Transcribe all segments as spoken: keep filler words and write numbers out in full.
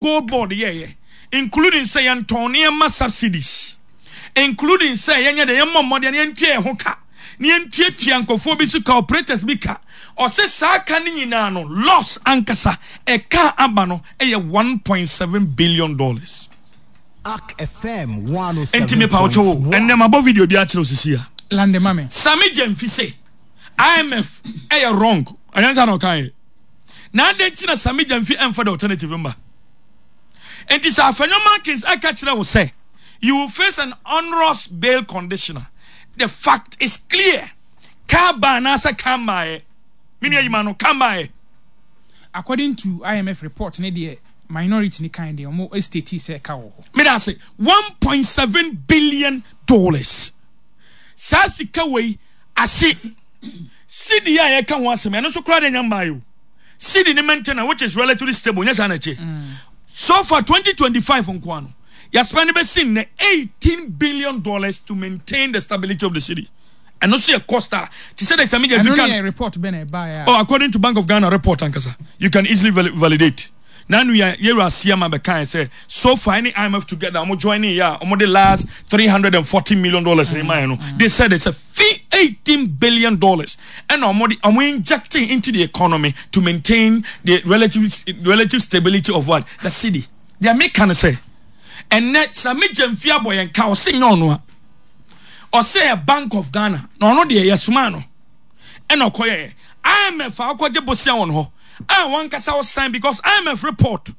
Gold Board yɛɛyɛ, including sɛ yɛntɔn nneɛma subsidies, including sɛ yɛnyɛ dɛ yɛmmɔ mmɔden na yɛntua yɛn ho ka, na yɛntuatua nkurɔfoɔ bi so ka, operators bi ka. Ɔse saa ka no nyinaa no, loss ankasa ɛka a aba no yɛ one point seven billion dollars. Ark F M Enti mepa wo kyɛw o, one oh seven point one. Ɛnnɛ mabɔ video bi akyerɛ wo sisi a. Lande ma me. Sammy Gyamfi se I M F ɛyɛ wrong, ɛnyɛ saa na ɔkaeɛ? Na adɛn nti na Sammy Gyamfi ɛmfa the alternative mma? Enti sɛ Afenyo Markins ɛka kyerɛ wo sɛ you will face an onerous bail condition a, the fact is clear. Kaa ba anaasɛ kaa mmaeɛ? Me nua yima no, kaa mmaeɛ. According to I M F report ne deɛ minority ni kan deɛ ɔmo state sɛ ɛka wɔ hɔ. Meda ase. one point seven billion dollars. Saa sika wei ahye. Cedi a yɛka ho asɛm, ɛno nso koraa de nya mmaeɛ o. Cedi ne maintenance, which is relatively stable, nyɛ saa na ɛkyɛ. So far twenty twenty-five nko ano, yɛaspend bɛsi nnɛ eighteen billion dollars to maintain the stability of the cedi. Ɛno nso yɛ cost a te sɛ de Sammy Gyamfi Ɛno ka ne yɛ report bɛ na ɛbaeɛ a. Oh, according to Bank of Ghana report ankasa, you can easily val validate. Nanu yɛ yɛwura Asiama bɛka sɛ so far any I M F together ɔmo join yɛ a ɔmo de last three hundred and forty million dollars ne maa yɛ no, they said it's a fee eighteen billion dollars ɛna ɔmo de ɔmo injecting into the economy to maintain the relative relative stability of what, the cedi. Deɛ meka no sɛ ɛnɛ Sammy Gyamfi abɔ yɛn ka, ɔse nyɛ ɔno a, ɔsɛ yɛ Bank of Ghana na ɔno deɛ yɛsoma no ɛna ɔkɔyɛ I M F a ɔkɔgye bosia wɔn hɔ a wɔn ankasa ɔsan because I M F report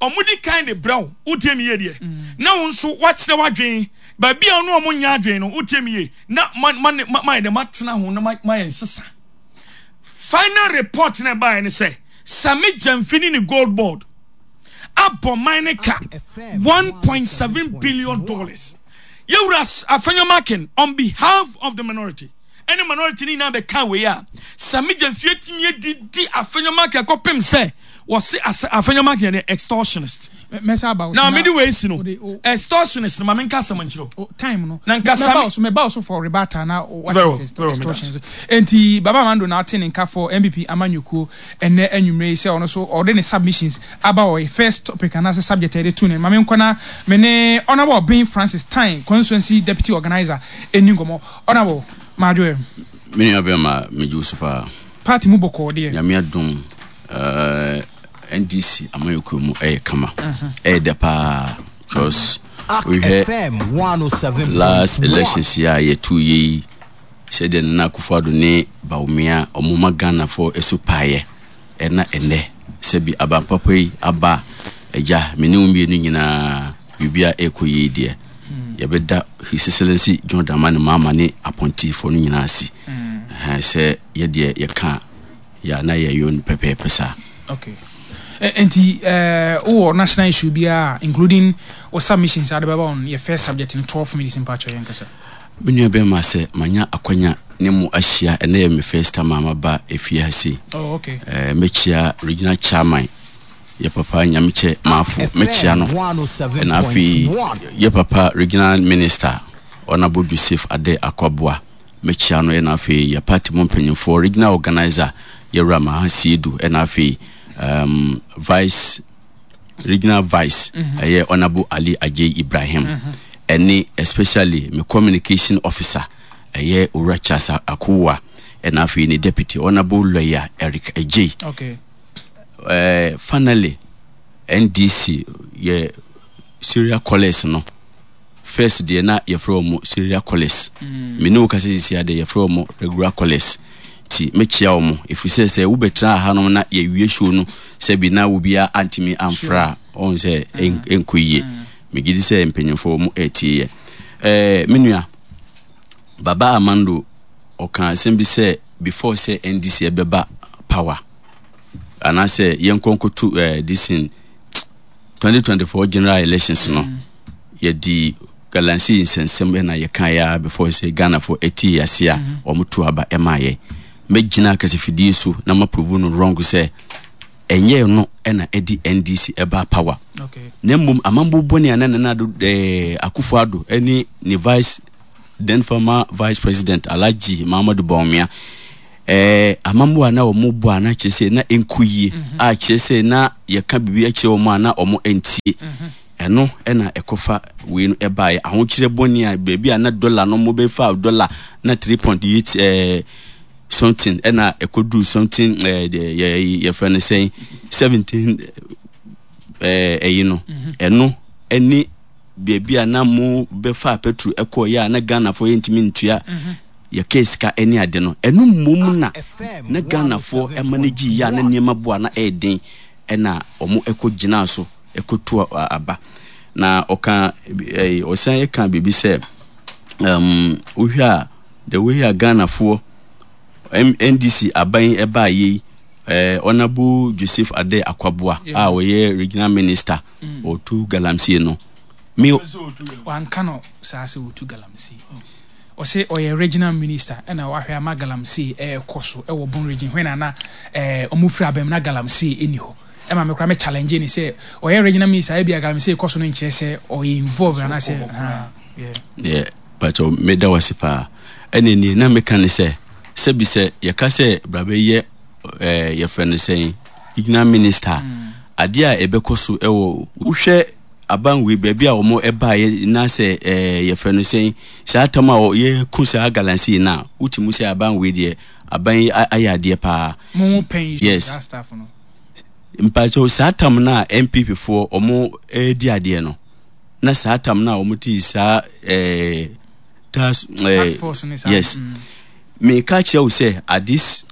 ɔmo di kan de brɛ wo, wotie mi yie deɛ, na wo nso wakyerɛ w'adwen baabi a ɔno ɔmo nya adwen no, wotie mi yie, na ma ma ma ma yɛ dɛ ma tena ho na ma ma yɛ nsesa. Final report na ɛbaeɛ ne sɛ Sammy Gyamfi ne ne Gold Board abɔ man ne ka one point seven billion dollars. Yɛwura Afenyo Markin on behalf of the minority ɛne minority ne nyinaa bɛka wei a Sammy Gyamfi atumi adidi Afenyo Markin akɔpem sɛ wɔse Afenyo Markin yɛ extortionist. Mɛsa aba wo na mede wei si no extortionist no, ma menka asɛm nkyerɛ wo. Time no na nka Sammy so mɛba wo so for rebuttal na what extortion. Enti Baba Amando na ate ne nka for N P P amanyɔkuo ɛnɛ anwummerɛ yi sɛ ɔno so ɔde ne submissions aba wɔ first topic anaasɛ subject a yɛde to ne ma menkɔ na me ne Honourable Ben Francis Time, constituency deputy organizer, ɛni nkɔmmɔ. Honourable, maadwoɛ. Me nua bɛma, megye wo so paa. Party mu bɔkɔɔ deɛ? Nyame adom, uh, N D C amanyɔkuo mu ɛyɛ kama, ɛyɛ dɛ paa because wohwɛ last elections yi a yɛtu yɛ yi, sɛdeɛ Nana Akufo-Addo ne Bawumia ɔmoma Ghanafoɔ ɛso paeɛ, ɛna ɛnɛ sɛbi abampapa yi aba agya me ne wo mmienu nyinaa biribia ɛkɔ yie deɛ, yɛbɛda His Excellency John Dramani Mahama ne apɔntifoɔ no nyinaa ase sɛ yɛdeɛ yɛka yɛ na yɛyɛ no pɛpɛɛpɛ saa. Okay, nti wowɔ national issue biara, including wo submissions ade bɛba on yɛ first subject no, twelve minutes, mpakyɛ yɛn kasa. Me nua bɛrima, sɛ manya akwanya ne mu ahyia ɛnɛ yɛ me first time a maba efie ha sei. Oh, okay. uh, mɛkyia regional chairman, yɛ papa Nyamekyɛ Maafo, mɛkyia no, ɛna afei yɛ papa regional minister Honourable Joseph Ade Akwaboa, mɛkyia no, ɛna afei yɛ party mu mpanyinfoɔ, regional organizer yɛwura Maha Siedu, ɛna afei um, vice regional vice ɛyɛ mm -hmm. Honourable Ali Ajay Ibrahim, ɛne mm -hmm. especially me communication officer ɛyɛ Owura Charles Akowa, ɛna afei ne deputy Honourable Lawyer Eric Ajay. okay. uh, finally N D C yɛ serial callers no, first deɛ na yɛfrɛ wɔn serial callers, mm. me ne wo kasa sisi adeɛ yɛfrɛ wɔn regular callers, ti mɛkyia wɔn ɛfiri sɛ sɛ wobɛtena hanom na yɛwie show no sɛbi na obiara antumi amfra a, ɔhu sɛ ɛnkɔ yie. Megye di sɛ mpanyimfoɔ mu ɛretie yɛ. ɛɛ me nua Baba Amando ɔka asɛm bi sɛ before sɛ N D C ɛbɛba power anaasɛ yɛnkɔ nkɔto ɛɛ this in twenty twenty-four general elections no, mm. yɛdi galamsey nsɛnsɛm ɛna yɛka yɛ a before sɛ Ghanafoɔ ɛti yɛ ase a wɔn to aba ɛma yɛ. Mɛgyina kasafidie so na ma prove no wrong sɛ ɛnyɛ no ɛna ɛdi N D C ɛba power, okay. na mmom amambo bɔne a na Nana Addo ɛɛ Akufo Addo ɛne ne vice, then former vice president Alhaji Muhammadu Bawumia Ɛɛ amammuo a na wɔn bɔ a na kyerɛ sɛ na ɛnkɔ yie mhm. a kyerɛ sɛ na yɛka biribi akyerɛ wɔn a na wɔn ntie. Mhm. Ɛno ɛna ɛkɔfa wei no ɛbaeɛ ahokyerɛ bɔne a baabi a na dɔla no mo bɛfa dɔla na three point eight ɛɛ something ɛna ɛkɔduru something ɛɛ yɛ yɛfrɛ no sɛn seventeen ɛɛ ɛyi no mhm. ɛno ɛne baabi a na mo bɛfa petro ɛkɔɔyɛ a na Ghanafoɔ yɛntumi ntua mhm. yɛkaa sika ɛne ade no ɛno mmom na na Ghanafoɔ ɛma no gye yie a na nneɛma bo a na ɛyɛ den ɛna wɔn ɛkɔ gyinaa so ɛkɔtu aba na ɔka ɛɛ ɔsan ɛka biribi sɛ um, wohwɛ a the way a Ghanafoɔ N D C aban ɛbaa yei eh, Honorable Joseph Ade Akwaboa a ɔyɛ regional minister mm. ɔtu galamsey no me wanka no saa sɛ ɔtu galamsey. Ɔsɛ ɔyɛ regional minister ɛna wahwɛ ama galamsey ɛɛkɔ so ɛwɔ Bono Region hwɛ na na ɛɛ ɔmo firi abɛm na galamsey ɛni hɔ. Ɛma me kora me challenge ne sɛ ɔyɛ regional minister ebi a galamsey kɔ so no nkyerɛ sɛ ɔyɛ involved anaasɛ ha. Yeah, pakyɛ meda wase paa. Ɛne nie na meka ne sɛ sɛbi sɛ yɛka sɛ bra bɛyɛ ɛɛ yɛfrɛ no sɛn regional minister mm. adeɛ a ɛbɛkɔ so ɛwɔ wohwɛ abanwe baabi a wɔn ɛbaeɛ na sɛ ɛɛ yɛfrɛ no sɛn saa tam a yɛko saa galamsey no a wotumi sɛ abanwe deɛ aban yi ayɛ adeɛ paa. Yes, mpakyɛw, saa tam no a N P P foɔ wɔn ɛredi adeɛ no na saa tam no a wɔn ti saa ɛɛ task ɛɛ yes mm. meka kyerɛ wo sɛ at this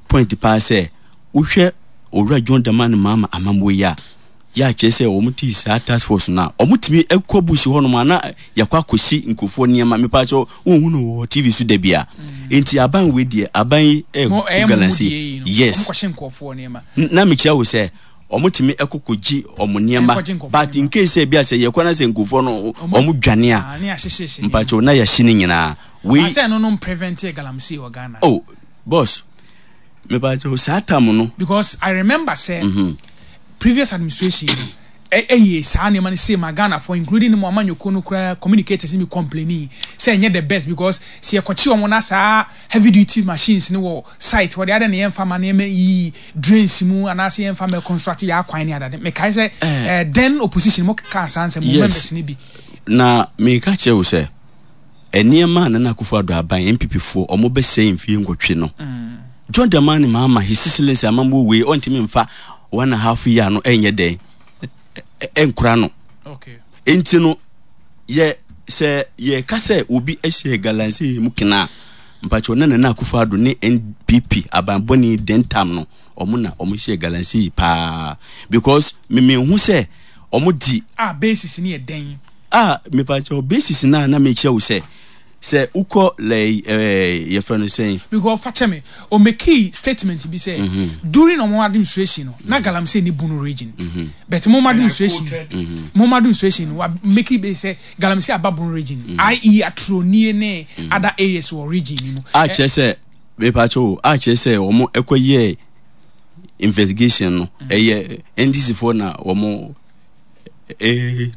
point paa sɛ wohwɛ Owura John Dramani Mahama amammuo yi a yɛ akyerɛ sɛ wɔn ti saa task force no a wɔn tumi kɔ bush hɔnom a na yɛkɔ akɔsi nkurɔfoɔ nneɛma. Mepa kyɛw, wɔn no wɔ T V so da bi a mm. nti aban wei deɛ aban yi ɛɛ galamsey, yes, na mekyerɛ wo sɛ wɔn tumi ɛkɔ kɔgye wɔn nneɛma, but in case sɛ ebi a sɛ yɛkɔ na sɛ nkurɔfoɔ no wɔn dwane a, mpakyɛw, na yɛahye ne nyinaa wei. Asɛ no no prevent galamsey wɔ Ghana? Oh boss, mepakyɛw, saa tam no. Because I remember sɛ mm -hmm. previous administration ɛyɛ saa nneɛma no sei ma Ghanafoɔ, including mo amanyɔkuo no koraa, communicators ne bi complaining sɛ ɛnyɛ the best because sɛ yɛkɔkye wɔn na saa heavy duty machines ne wɔ site wɔde adɛ ne yɛmfa ma nneɛma yi drains mu anaasɛ yɛmfa ma construct yɛ akwan ne adade. Mekae sɛ eh, then opposition mo keka saa nsɛm mo members ne bi. Na meka kyerɛ wo sɛ nneɛma a Nana Akufo Addo aban N P P foɔ ɔmo bɛsɛe mfie nwɔtwe no, mm. John Dramani Mahama, His Excellency, amammuo wei ɔntumi mfa one and a half year no ɛnyɛ dɛn ɛnkora no. Nti no yɛ sɛ yɛka sɛ obi ahyɛ galamsey mu kena a, mpakyɛw, na Nana Akufo Addo ne N P P abanbɔne den tam no ɔmo na ɔmo hyɛ galamsey paa because memehu sɛ ɔmo di. A basis ni yɛ dɛn? A mepakyɛw, basis na na mekyerɛ wo sɛ sɛ wokɔ lɛ ɛɛ yɛfrɛ no sɛn. Because fakyɛ me, o make statement bi sɛ mm -hmm. during ɔmo administration no na galamsey ni Bono Region mm -hmm. but mo administration mm -hmm. mo administration wa make bi sɛ galamsey aba Bono Region mm -hmm. i e Atronie ne mm -hmm. other areas wɔ region ni mu. A kyerɛ sɛ mepakyɛw, a kyerɛ sɛ wɔn ɛkɔ yɛ investigation no ɛyɛ N D C foɔ na wɔn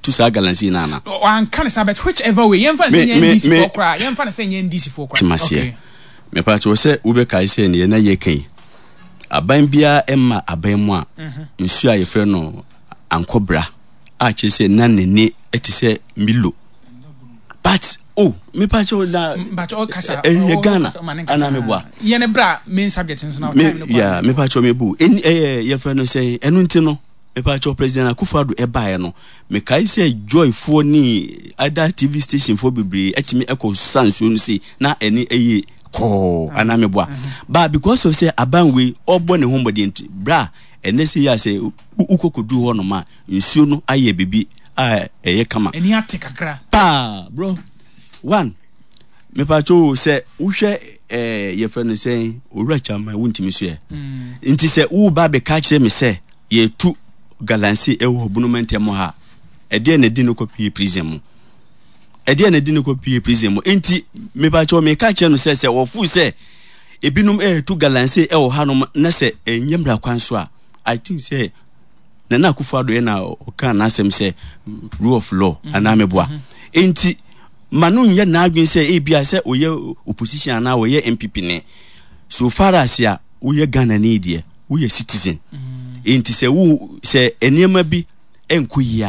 tu saa galamsey no ana? Wanka ne sa, but whichever way, yɛmfa ne sɛ nyɛ N D C foɔ koraa, yɛmfa ne sɛ nyɛ N D C foɔ koraa. Temaseɛ, mepakyɛw, sɛ wobɛkae sɛ neɛ na yɛka yi aban biara ɛma aban mu a mhm. nsuo a yɛfrɛ no Ankɔbra a kyerɛ sɛ na n'ani te sɛ Milo, but oh, mepakyɛw, na ɛyɛ Ghana ana meboa? Yɛne bra main subject nso na time no. Yeah, mepakyɛw, mebu ɛyɛ yɛfrɛ no sɛ ɛno nti no mepakyɛw, President Akufo-Addo ɛbaeɛ no mekae sɛ Joyfoɔ ne other T V station foɔ bebree ɛtumi ɛkɔ sa nsuo no sei na ɛne ɛyɛ kɔɔ anaa meboa? But because of sɛ aban wei ɔbɔ ne ho mmɔden nti bra ɛnɛ sɛ yɛ a sɛ wokɔ kɔduru hɔ nom a nsuo no ayɛ biribi a ɛyɛ kama. Ɛni ate kakra. Paa bro one, mepakyɛw, sɛ wohwɛ ɛɛ yɛfrɛ no sɛ Owura Kyama wontumi so yɛ mm. nti sɛ woba bɛka kyerɛ me sɛ yɛtu galamsey ɛwɔ Bono mantam ha, ɛdeɛ na ɛdi no kɔ pie prison mu, ɛdeɛ na ɛdi no kɔ pie prison mu. Nti mepakyɛw, meka kyerɛ no sɛ sɛ wɔfo sɛ ebinom ɛɛtu galamsey ɛwɔ hanom na sɛ ɛnyɛ mmara kwan so a, I think sɛ Nana Akufo Addo yɛ na ɔka n'asɛm sɛ rule of law mm -hmm. anaa meboa? mm -hmm. Nti ma no nyɛ n'adwene sɛ ebia sɛ ɔyɛ opposition anaa ɔyɛ N P P ne So far as a woyɛ Ghanani deɛ, woyɛ citizen. Enti sɛ wo sɛ nneɛma bi nkɔ yie a,